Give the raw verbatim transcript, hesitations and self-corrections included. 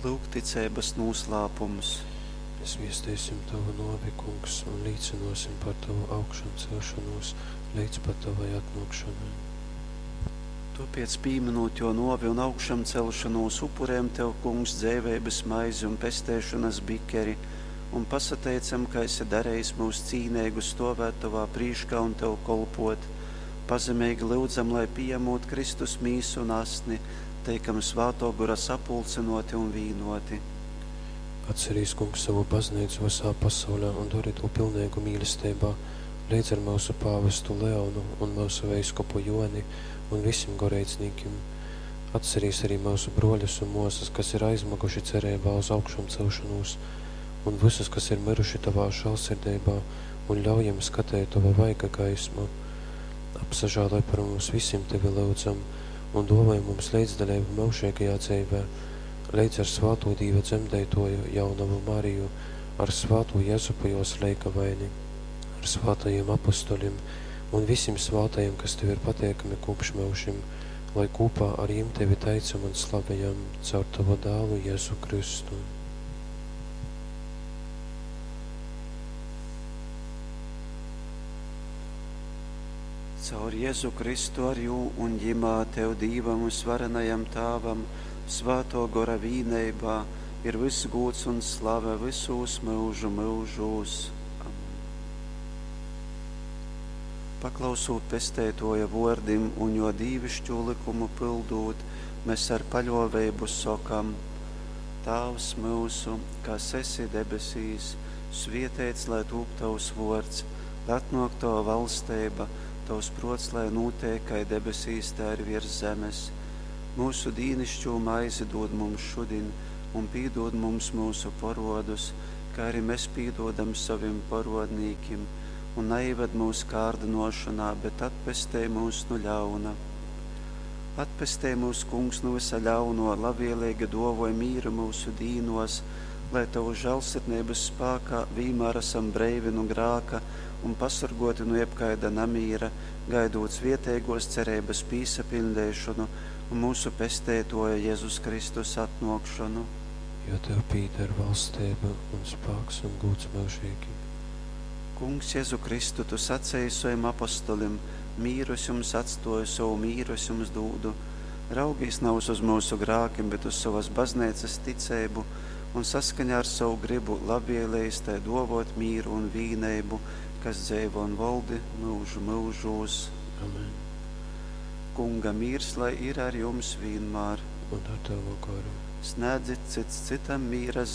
Lūk ticeibas nūslāpums. Mēs viesteisim Tavu nōvi, Kungs, un līcynōsim par Tavu augšancelšonūs leidz pat Tovai atnōkšonai. Tōpēc, pīmynūt jō nōvi un augšamcelšonūs, upurejam Tev, Kungs, dzeiveibas maizi un pesteišonas bikeri un pasateicam, ka esi darejis myus cīneigus stōvēt Tovā prīškā un Tev kolpōt. Pazemeigi lyudzam, lai pījamūt Kristus mīsu un asni, teikam Svātō Gora sapulcynōti un vīnōti. Atcerīs, Kungs, sovu bazneicu vysā pasaulē un dori tū pilneigu mīlesteibā, leidz ar myusu pāvestu Leonu un myusu veiskupu Jōni un visim goreidznīkim. Atcerīs arī myusu brōļus un mōsas, kas ir aizmyguši cereibā uz augšamcelšonūs, un vysus, kas ir myruši Tovā žālsirdeibā, un ļauj jim skateit Tova vaiga gaismu. Apsažāloj par mums visim, Tevi lyudzam, un dōvoj mums leidzdaleibu myužeigajā dzeivē, leidz ar svātū Dīva dzemdeitōju jaunovu Mariju, ar svātū Jezupu jōs leigavaini, ar svātajim apostolim un visim svātajim, kas Tev ir pateikami kopš myužim, lai kopā ar jim Tevi teicam un slavejam caur Tavu dālu Jēzu Kristu. Caur Jēzu Kristu ar jū un ģimā Tev Dīvam vysvarenajam Tāvam, Svātō Gora vīneibā, ir vyss gūds un slave vysūs myužu myužūs. Amen. Paklausūt Pesteitōja vōrdim un jō dīvišķū lykumu pyldūt, mēs ar paļōveibu sokam: Tāvs myusu, kas esi debesīs, svieteits lai tūp Tavs vōrds, lai atnōk Tava valsteiba, Tavs prōts lai nūteik kai debesīs, tai arī viers zemes. Myusu dīnišķū maizi dūd mums šudiņ, un pīdūd mums myusu porodus, kā arī mēs pīdūdam sovim porodnīkim, un naieved mūsu kārdinošanā, bet atpestej mūs no ļauna. Atpestej mūs, Kungs, no visa ļauno, labvēlīgi dovoj mīru mūsu dīnos, lai Tavu žēlsirdnības spākā vienmēr esam breivi no grāka un pasargoti no jebkaida namīra, gaidot svietēgos cerības pīsapildīšanu un mūsu pestētoja Jēzus Kristus atnākšanu. Jo Tev pīder valstība un spāks un gūds mūžīgi. Kungs, Jēzu Kristu, Tu sacēji saviem apostolim, mīru es jums atstoju, savu mīru es jums dūdu. Raugīs nav uz mūsu grākiem, bet uz savas baznīcas ticību un saskaņā ar savu gribu labvēlējis tai dovot mīru un vīneibu, kas dzeivo un valdi mūžu mūžūs. Amen. Kunga mīrs, lai ir ar jums vienmēr. Un ar Tavu goru. Snēdzit cits citam mīra